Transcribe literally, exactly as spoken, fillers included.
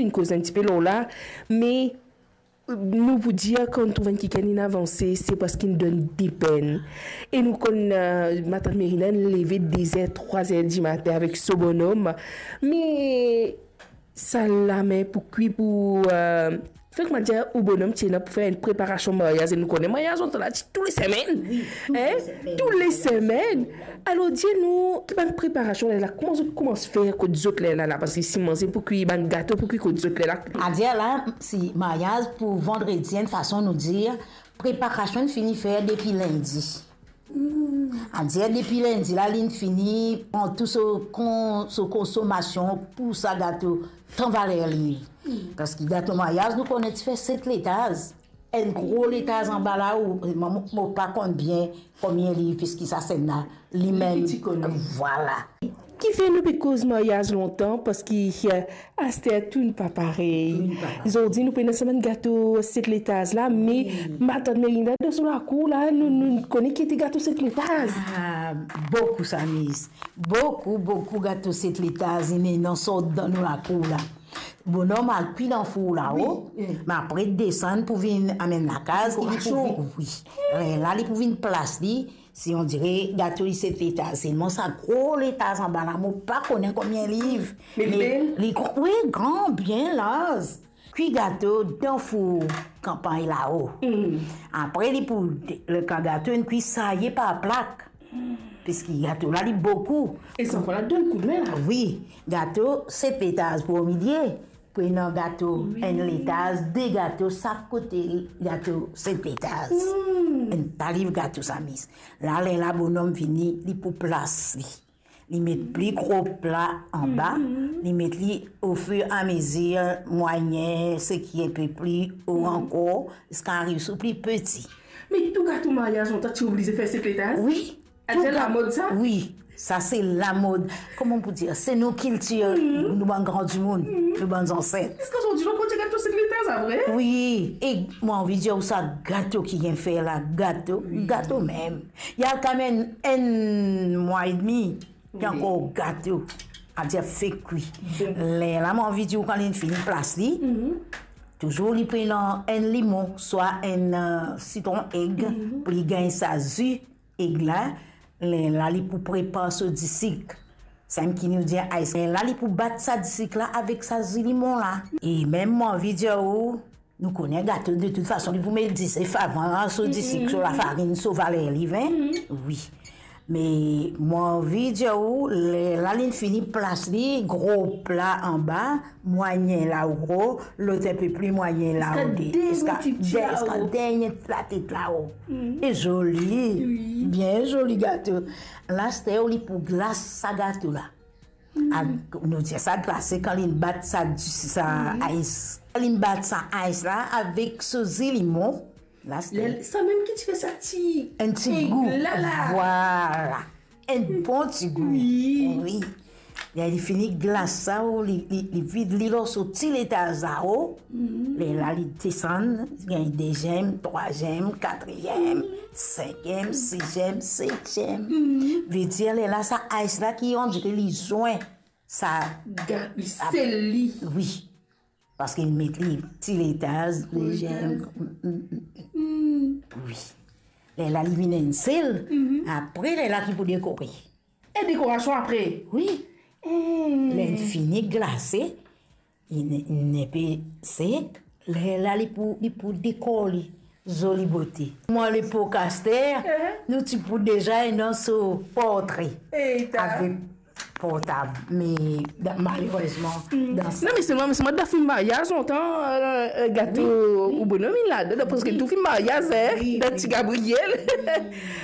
Inn koz enn tipe lor la, me nou pou dir, kan nou trouv enn kikenn inn avanse, se parski inn donn depenn. E nou konn, eh, matant Merinda inn leve de zer, trwa zer dimatin avek so bonom. Me sa lame pou kwi pou, eh, fek mo dir ou bonom ti ena pou fer enn preparasion maryaz, e nou kone maryaz, nou ti la ti tou le semenn. Wi, tou le semenn. Tou le semenn. Alor, dir nou, ki bann preparasion la, kouma zot koumans fer kot zot lerla la, parski si manze pou kwi, bann gato pou kwi kot zot lerla? Adir la, si maryaz pou vandredi, enn fason nou dir, preparasion fini fer depi lindi. Adir depi lindi la, linn fini pran tou so kon-, so konsomasion pou sa gato, tan valer li. Parski gato maryaz, nou kone ti fer set letaz. Enn gro letaz anba la, ou, mo, mo pa konn bien konbien li, piski sa sena li mem. Li piti konn. Vwala. Kifer nou pe koz maryaz lontan, parski, eh, aster tou pa parey. Tou pa parey. Zordi nou pena sa bann gato set letaz la, me matant Merinda dan so lakour la, nou, nou kone ki ete gato set letaz. Ah, boukou sa, Miss. Boukou, boukou gato set letaz, inn ena sort dan nou lakour la. Bonom al kwi dan four lao, wi, wi, me apre desann pou vinn amenn lakaz, li pou dekorasion. Wi. Lerla li pou vinn plas li, si on dire gato li set letaz, selman sa gro letaz anba la, mo pa kone konbien liv. Me li, me bel? Li gro, wi, gran, bien larz. Kwi gato dan four kanpagn lao. Mm. Apre li pou de-, letan gato inn kwi, saye par plak. Piski gato la li boukou. E sa, fode donn koudme la. Wi, gato set letaz pou omilie. Pou ena gato, wi, enn letaz, de gato sak kote, gato set letaz. Mm. Enn ta liv gato sa, Miss. La, lerla bonom vini, li pou plas li. Li met pli gro pla anba, mhm, li met li ofiramezir, mwayin, seki enn pe pli o, mhm, ankor, ziska ariv sou pli piti. Me tou gato maryaz, lontan ti oblize fer set letaz? Wi. Aster lamod sa? Wi, sa se lamod. Kouma pou dir? Se nou kiltir, mhm, nou bann gran dimoun, mhm, nou bann zanset. Ziska zordi nou kontign gato set letaz, sa vre? Wi, e mo anvi dir ou sa gato ki gagn fer la, gato, wi, gato mem. Li al kanmem enn mwa edmi, wi, ankor gato, adir fek kwi. Bon. Lerla mo anvi dir ou, kan linn fini plas li, mhm, touzour li pou ena enn limon, swa enn, eh, sitron eg, mhm, pou li gagn sa zi eg la, lerla li pou prepar so disik. Samem ki nou dir ice. Lerla li pou bat sa disik la avek sa zi limon la. E mem mo anvi dir ou, nou kone gato, de tout fason, li pou met dizef avan, so disik, so lafarinn, so valer liv, en? Wi. Me mo anvi dir ou, lerla linn fini plas li, gro pla anba, mwayin lao, lot enn pe pli mwayin lao, ziska de, ziska de, ziska dernie latet lao. E zoli, wi, bien zoli gato. La, aster li pou glas sa gato la. A, nou dir sa glase kan linn bat sa, sa ice. Linn bat sa ice la avek so zi limon. La, samem ki ti fer sa ti, enn ti gou. Vwala. Enn bon ti gou. Wi. Wi. Li fini glas sa, ou li, li, li vid li lor so ti letaz la, o. Lerla li desann, gagn deziem, trwaziem, katriem, sinkiem, siziem, setiem. Vedir lerla sa ice la ki, on dire li zwin sa. Li sel li. Wi. Parski li met li ti letaz, deziem. Wi. Lerla li vinn enn sel, apre lerla ki pou dekore. E dekorasion apre? Wi. Lerla fini glase, li ne, li enn pe sek, lerla li pou, li pou dekor li. Zoli bote. Mo lepok aster, nou ti pou deza ena so portre. Avek portab, me malerezman, dan sa... Non, me selman, me selman dan fim maryaz, lontan, eh, eh, gato, wi, wi, ou bonom inn ladan, parski tou fim maryaz, en, wi, dan Ti Gabriel. Wi.